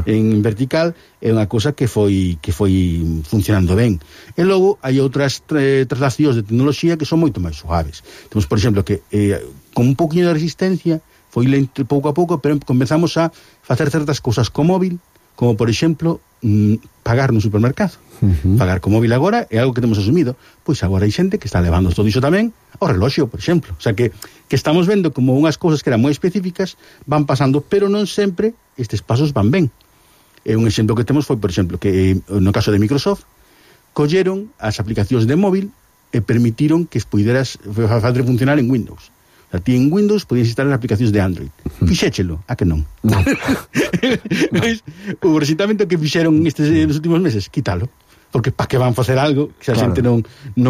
en vertical, é unha cousa que foi funcionando ben. E logo hai outras traslacións de tecnoloxía que son moito máis suaves. Temos, por exemplo, que con un pouquinho de resistencia foi lento pouco a pouco, pero comenzamos a facer certas cousas co móvil, como por exemplo pagar no supermercado. Pagar co móvil agora é algo que temos asumido. Pois agora hai xente que está levando todo iso tamén ao reloxo, por exemplo. O sea que estamos vendo como unhas cousas que eran moi específicas van pasando, pero non sempre estes pasos van ben. Un exemplo que temos foi, por exemplo, que no caso de Microsoft colleron as aplicacións de móvil e permitiron que puideras facer funcionar en Windows. O sea, ti en Windows podías instalar aplicacións de Android. Fixéchelo, a que non? Non. O recitamento que fixeron nos últimos meses, quítalo. Porque para que van facer algo que a xente non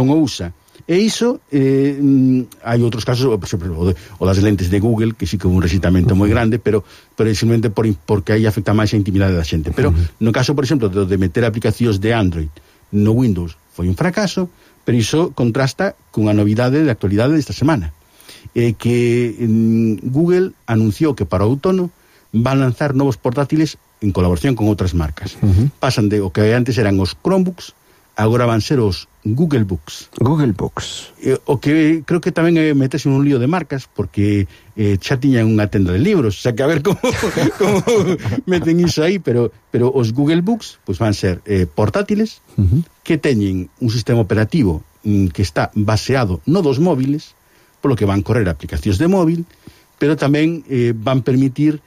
o usa. E iso, hai outros casos, por exemplo, o das lentes de Google, que sí que houve un recitamento moi grande, pero simplemente porque aí afecta máis a intimidade da xente. Pero no caso, por exemplo, de meter aplicacións de Android no Windows, foi un fracaso, pero iso contrasta cunha novidade de actualidade desta semana. Que Google anunciou que para o outono van lanzar novos portátiles en colaboración con outras marcas. Pasan de o que antes eran os Chromebooks, agora van ser os Google Books. Google Books. O que creo que tamén é meterse un lío de marcas, porque xa tiñan unha tenda de libros, o sea que a ver como meten iso aí, pero os Google Books pues van ser portátiles que teñen un sistema operativo que está baseado no dos móviles, polo que van correr aplicacións de móvil, pero tamén van permitir,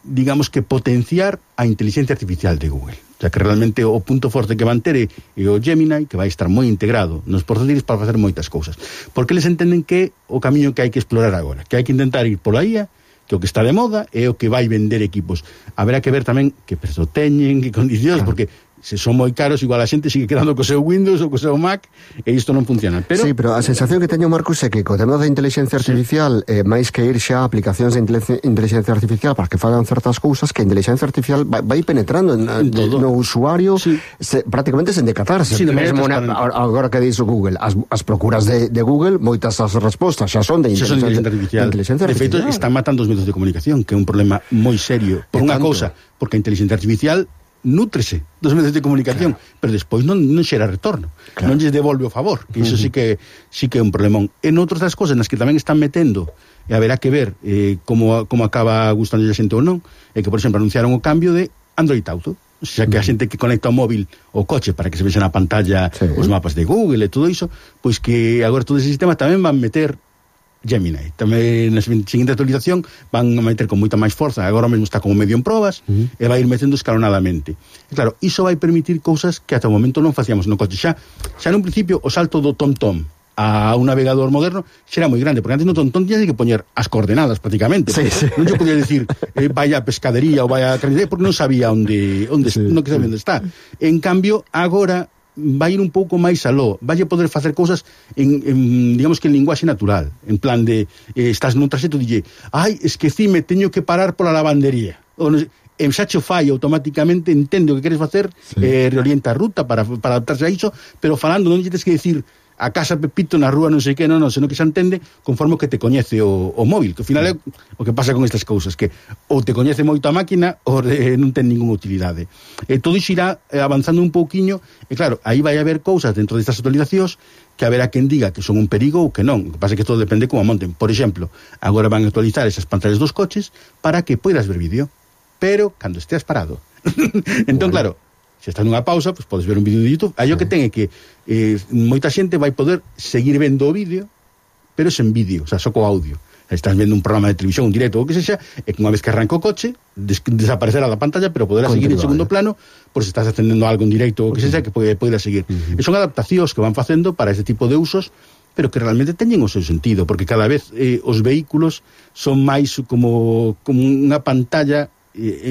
digamos que potenciar a inteligencia artificial de Google. O sea, que realmente o punto forte que van ter é o Gemini, que vai estar moi integrado nos portátiles para facer moitas cousas. Porque eles entenden que o camiño que hai que explorar agora, que hai que intentar ir pola IA, que o que está de moda é o que vai vender equipos. Haberá que ver tamén que prezo teñen, que condicións, porque se son moi caros, igual a xente sigue quedando co seu Windows ou co seu Mac, e isto non funciona. Pero... Sí, pero a sensación que teño, Marcos, é que co tema da inteligencia artificial, máis que ir xa a aplicacións de inteligencia artificial para que fagan certas cousas, que a inteligencia artificial vai penetrando no usuario, prácticamente sen decatarse. Sí, mesmo agora que dixo Google, as procuras de Google, moitas as respostas xa son de inteligencia artificial. De feito, están matando os medios de comunicación, que é un problema moi serio. Por unha cousa, porque a inteligencia artificial nútrese dos medios de comunicación, pero despois non xera retorno, non lles devolve o favor, que iso sí que é un problemón. En outras das cosas nas que tamén están metendo, e haberá que ver como acaba gustando a xente ou non, é que, por exemplo, anunciaron o cambio de Android Auto, o sea, que a xente que conecta o móvil o coche para que se vexa na pantalla os mapas de Google e todo iso, pois que agora todo ese sistema tamén van meter Gemini. Tamén na seguinte actualización van a meter con moita máis forza, agora mesmo está como medio en probas, e vai ir metendo escalonadamente. E claro, iso vai permitir cousas que ata o momento non facíamos no coche. Xa nun principio o salto do TomTom a un navegador moderno xera moi grande, porque antes no TomTom tiñas que poñer as coordenadas prácticamente. Non yo podía decir vaya a pescadería ou vaya a carnicería, porque non sabía non sabía onde está. En cambio, agora vai ir un pouco máis aló, vai poder facer cousas en digamos que en linguaxe natural, en plan de estás nun traxecto e dille, esquecime, teño que parar pola lavandería, ou non sei, e xa cho fai automáticamente, entende o que queres facer, reorienta a ruta para adaptarse a iso, pero falando non lle tens que decir a casa Pepito na rúa non sei que, senón que xa entende conforme que te coñece o móvil, que ao final é o que pasa con estas cousas, que ou te coñece moito a máquina ou non ten ninguna utilidade. Todo iso irá avanzando un pouquiño, e claro, aí vai haber cousas dentro destas actualizacións que haberá quen diga que son un perigo ou que non. O que pasa é que todo depende como a monten. Por exemplo, agora van a actualizar esas pantallas dos coches para que poidas ver vídeo, pero cando esteas parado. Entón, claro, se estás nunha pausa, pues podes ver un vídeo de YouTube. Aí o que ten é que moita xente vai poder seguir vendo o vídeo, pero sen vídeo, o sea, só co audio. Estás vendo un programa de televisión, un directo ou que sexa, e que unha vez que arranca o coche, desaparecerá da pantalla, pero poderá seguir en segundo plano, por se estás atendendo algo en directo ou que sexa, que poderá seguir. E son adaptacións que van facendo para este tipo de usos, pero que realmente teñen o seu sentido, porque cada vez os vehículos son máis como unha pantalla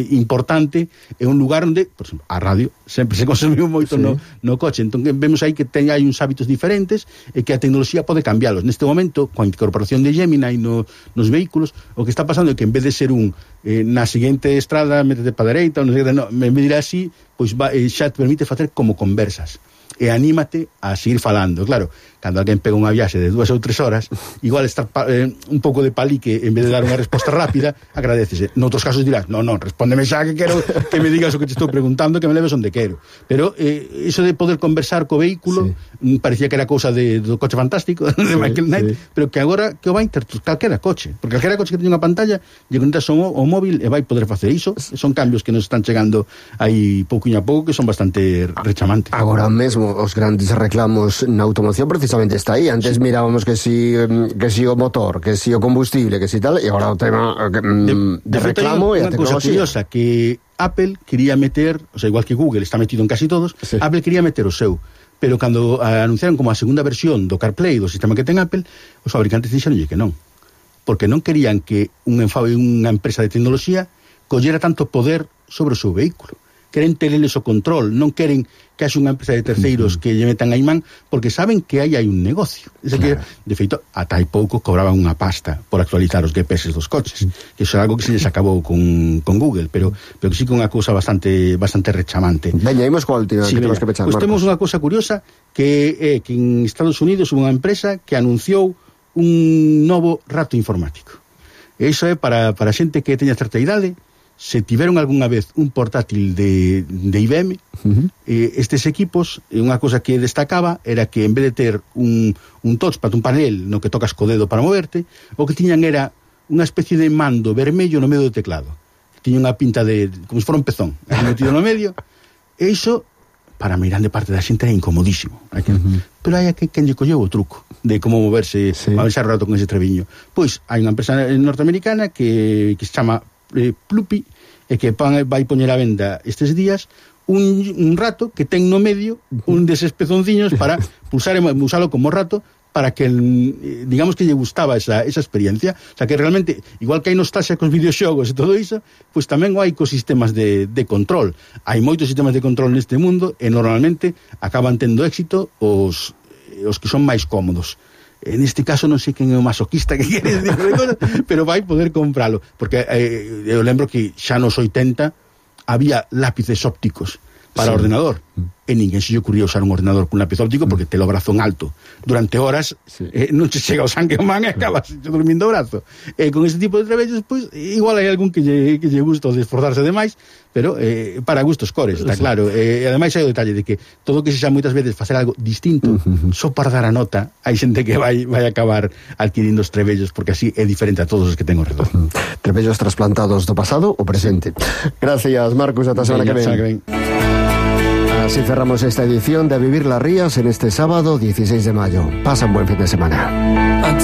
importante, é un lugar onde, por exemplo, a radio sempre se consumiu moito no coche, entón vemos aí que hai uns hábitos diferentes e que a tecnoloxía pode cambialos. Neste momento, coa incorporación de Gemini nos vehículos, o que está pasando é que en vez de ser na seguinte estrada métete para dereita, en vez de ir así, pois xa te permite facer como conversas. e anímate a seguir falando. Claro, cando alguén pega unha viaxe de 2 ou 3 horas, igual estar un pouco de palique en vez de dar unha resposta rápida, agradecese. Noutros casos dirás, non, respóndeme xa que quero que me digas o que te estou preguntando, que me leves onde quero. Pero iso de poder conversar co vehículo parecía que era cousa do coche fantástico de Michael Knight, pero que agora que o vai ter calquera coche, porque calquera coche que teña unha pantalla lle conectas o móvil e vai poder facer iso. Son cambios que nos están chegando aí pouquinho a pouco, que son bastante rechamantes. Agora mesmo os grandes reclamos na automoción precisamente está aí. Antes mirábamos que si o motor, que si o combustible, que si tal, e agora o tema de reclamo e a tecnoloxía. Unha cousa curiosa, que Apple quería meter, o sea, igual que Google está metido en casi todos, Apple quería meter o seu, pero cando anunciaron como a segunda versión do CarPlay, do sistema que ten Apple, os fabricantes dixeronlle que non, porque non querían que unha empresa de tecnoloxía collera tanto poder sobre o seu vehículo. Queren tereles o control, non queren que haxe unha empresa de terceiros que lle metan a imán, porque saben que aí hai un negocio. Que, de feito, ata hai pouco cobraban unha pasta por actualizar os GPS dos coches, que iso é algo que se les acabou con Google, pero que sí que é unha cousa bastante rechamante. Veña, imos coa última, que temos que pechar, Marcos. Temos unha cousa curiosa, que en Estados Unidos hubo unha empresa que anunciou un novo rato informático. E iso é para xente que teña certa idade. Se tiveron algunha vez un portátil de IBM, estes equipos, unha cosa que destacaba era que en vez de ter un touchpad, un panel no que tocas co dedo para moverte, o que tiñan era unha especie de mando vermello no medio do teclado. Tiña unha pinta como se fora un pezón metido no medio, e iso para a meirande parte da xente era incomodísimo. Pero hai quen lle colleu o truco de como moverse a pensar rato con ese treviño. Pois hai unha empresa norteamericana que se chama Pluppy, e que vai poñer a venda estes días un rato que ten no medio un deses pezonciños para usalo como rato, para que digamos que lle gustaba esa experiencia. O sea, que realmente, igual que hai nostalgia cos videoxogos e todo iso, pois tamén hai ecosistemas de control. Hai moitos sistemas de control neste mundo e normalmente acaban tendo éxito os que son máis cómodos. En este caso non sei quen é o masoquista que quere decir, pero vai poder compralo, porque eu lembro que xa nos 80 había lápices ópticos para ordenador, e ninguén se lle ocurría usar un ordenador con lápiz óptico porque te lo brazo en alto durante horas, non che chega o sangue ao man e acabas dormindo o brazo. E con este tipo de traballos, pois, igual hai algún que lle gusta de esforzarse demais, pero para gustos cores, está claro. E ademais hai o detalle de que todo o que se xa moitas veces facer algo distinto, só para dar a nota, hai xente que vai acabar adquirindo os trebellos, porque así é diferente a todos os que ten ao redor. Trebellos trasplantados do pasado ou presente. Gracias, Marcos, ata a semana que ven. Así cerramos esta edición de Vivir las Rías en este sábado 16 de mayo. Pasa un buen fin de semana.